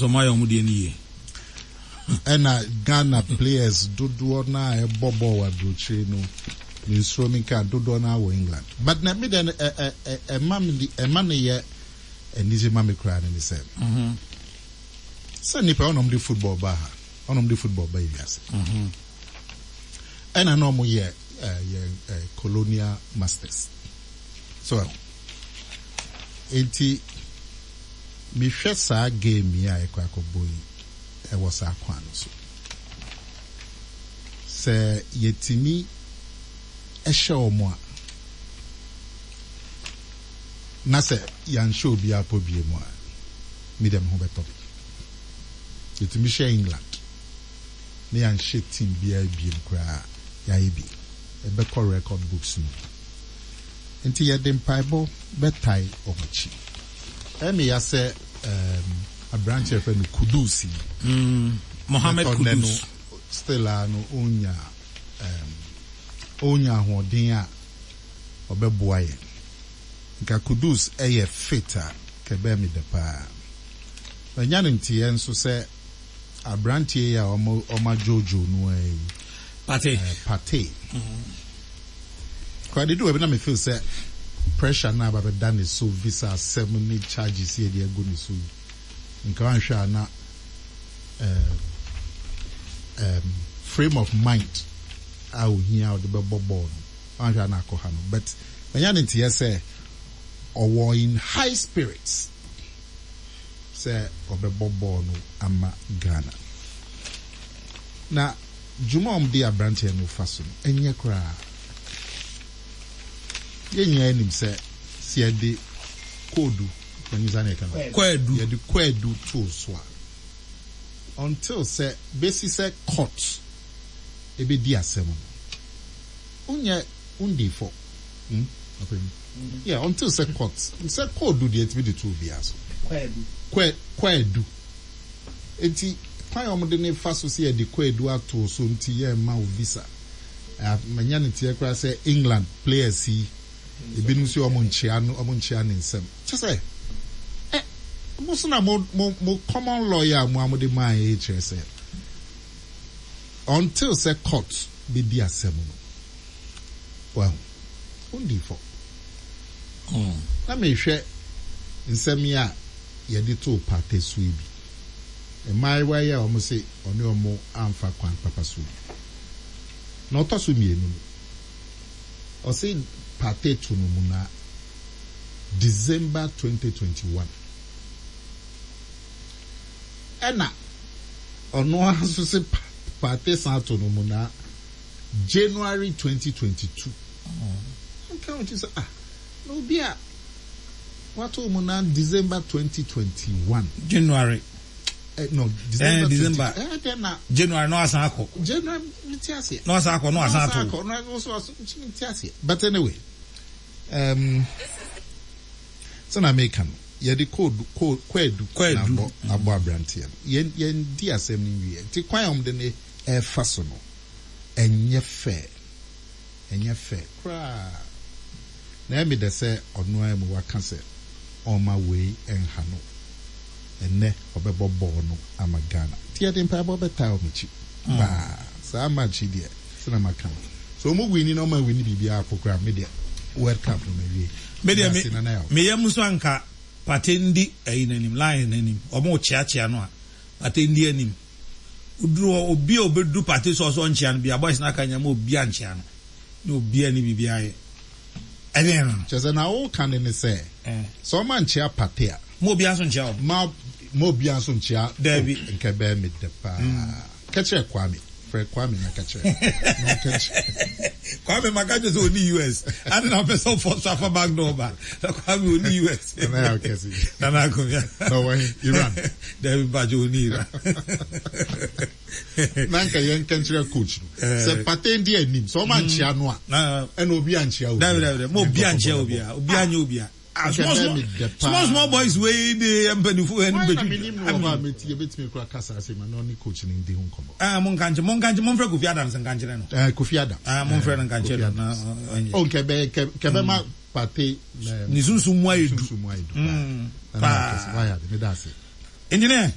nso ɔmo ayɛ ɔmo deɛ no yie. Ɛna Ghana players dodoɔ no a ɛbɔ bɔɔl wɔ aburokyire no, mensuro menka, dodoɔ no ara wɔ England. But na me deɛ no, ɛ ɛ ɛ ɛma me ɛma no yɛ anigye ma me koraa no ne sɛ, sɛ nnipa ɔna wɔde football baa ha, ɔna wɔde football baa wiase. Ɛna na wɔyɛ yɛ colonial masters. So ɛho. Enti mehwɛ saa game yi a yɛkɔ akɔbɔ yi ɛwɔ saa kwan no so. Sɛ yɛtumi hyɛ wɔn a, na sɛ yɛanhyɛ obiara pɔ bie mu a, me deɛ me ho bɛtɔ me. Yɛtumi hyɛ England na yɛanhyɛ team biara biem koraa a, yɛayɛ bi. Ɛbɛkɔ record books mu. Nti yɛde mpaebɔ bɛtae wɔn akyi. Ɛyɛ me ya sɛ um, aberante a yɛfrɛ no Kudus yi. Mm, Mohammed Bɛtɔ nnɛ no, Kudus. still a no ɔnya um, ɔnya ahoɔden a ɔbɛboa yɛn. Nka Kudus yɛ fit a, nka ɛbɛyɛ me dɛ paa. Manya no nteɛ nso sɛ aberanteɛ yi a wɔn wɔadwoodwoo no ara yi, Partey. eh, Partey. Koraa de du baabi na me feel sɛ pressure no a aba bɛda ne so, visa asɛm ne charges yi a yɛde agu ne so yi, nka wanhwɛ a na eh, um, frame of mind a ohia a ɔde bɛbɔ bɔɔl no, wanhwɛ a na akɔha no. But manya ne nteɛ sɛ ɔwɔ in high spirits sɛ ɔbɛbɔ bɔɔl no ama Ghana. Na dwuma a wɔde aberanteɛ no fa so no, ɛnyɛ koraa. Yɛn nyinaa nim sɛ sɛ yɛde koodu, manyi saa na yɛka no, Kwaadu. yɛde kwaadu too so a, until sɛ besi sɛ court ebedi asɛm no, wonyɛ wondii fɔ. Hmm? Ɔpanyin. Yeah, until sɛ court, sɛ koodu deɛ ɛtumi de to obiara so. Kwaadu. Kwa, kwaadu. Enti kwan a wɔde no fa so sɛ yɛde kwaadu ato so nti yɛmma wo visa. Manya no teɛ koraa sɛ England players yi ebinom nso wɔn nkyea no wɔn nkyea ne nsam. Kyɛ sɛ ɛ mo so na mo mo mo common law yi a mo a mo de maa yɛ kyerɛ sɛ until sɛ court bedi asɛm no wahu wondi fɔ. Na mehwɛ nsɛm yi a yɛde too Partey so yi bi. Mmaayewa yi a wɔse ɔne wɔn amfa kwan papa so yi. Na ɔtɔ so mmienu no, ɔse Partey to no muna December 2021. Ɛna ɔno ara nso se Partey san to no muna January 2022. Nka wo ti sɛ ah, na obi a wato mu na December 2021. January. Eh, no, December. Eh, December. 20, eh, then na. January no asan akɔ. January, me ti ase. No asan akɔ, no asan ato. No asan akɔ, no so me ti ase. But anyway, um, sɛ na meka no, yɛde code code kwadu na abɔ abɔ aberanteɛ no. Yɛn yɛn di asɛm no nwie. Nti kwan a wɔde ne ɛfa so no, ɛnyɛ fair. Ɛnyɛ fɛ koraa. Na ɛyɛ me dɛ sɛ ɔno ara mu waka sɛ ɔmma wei nha no. Ɛnnɛ ɔbɛbɔ bɔɔl no ama Ghana. Nti yɛde mpaebɔ bɛtaa wɔn akyi paa. Saa match yi deɛ, sɛdeɛ maka no, sɛ wɔn winni na wɔn anwinni biribiara po koraa a, me deɛ World Cup no mawie. Me deɛ Medase Nana Yaw. me yam nso anka Partey ndi ayi no anim, line no anim. Wɔn rekyeakyea no a, Partey ndi anim. Oduru hɔ, obi a obedu party so a ɔsɛ ɔnkyea no bia, boys no aka nyɛ ma obia nkyea no, ne obia ne biribi ayɛ. Ɛdeɛn no no? Kyerɛ sɛ na woka no ne sɛ, sɛ ɔma nkyea party a. Ma obia nso nkyea wɔn. Ma ma obia nso nkyea. Daabi. Oh, nka ɛbɛyɛ me dɛ paa. Ka kyerɛ Kwame. Frɛ Kwame na ka kyerɛ no. Na ɔnka nkyerɛ. Kwame maka kyerɛ sɛ ɔni US. Ade na ɔpɛ sɛ ɔfɔ so afa back door ba. Na Kwame ɔni US. Nana yɛ akɛse. Nana Akomia. Na ɔwɔ he? Iran. Dabi mpakyɛ ɔni Iran. Na nka yɛn nka nkyerɛ coach no. Sɛ Partey ndi anim, sɛ ɔma nkyea no a, ɛna obi ankyea obi. Dabi dabi dabi, ma obi ankyea obi a, obi anyɛ obi a. Ah, small small small small boys wei de mpanyinfo ɛni bɛ twitwa. Wɔn na mi nim no wɔ hɔ a mi ti ebetumi kura kasa ase ma na ɔne coach no ndi ho nkɔmɔ. Ah, mo nka nkyɛn, mo nka nkyɛn, mo nfrɛ Kofi Adams nka nkyerɛ no. Eh, Kofi Adams. Ah, mo nfrɛ no nka nkyerɛ no na ɔnyɛ. Oh, nkɛbɛ nkɛbɛ ma Partey. Ne sunsun mu ayɛ du. Sunsun mu ayɛ du paa. Paa. Wayɛ ade, meda ase. Engineer.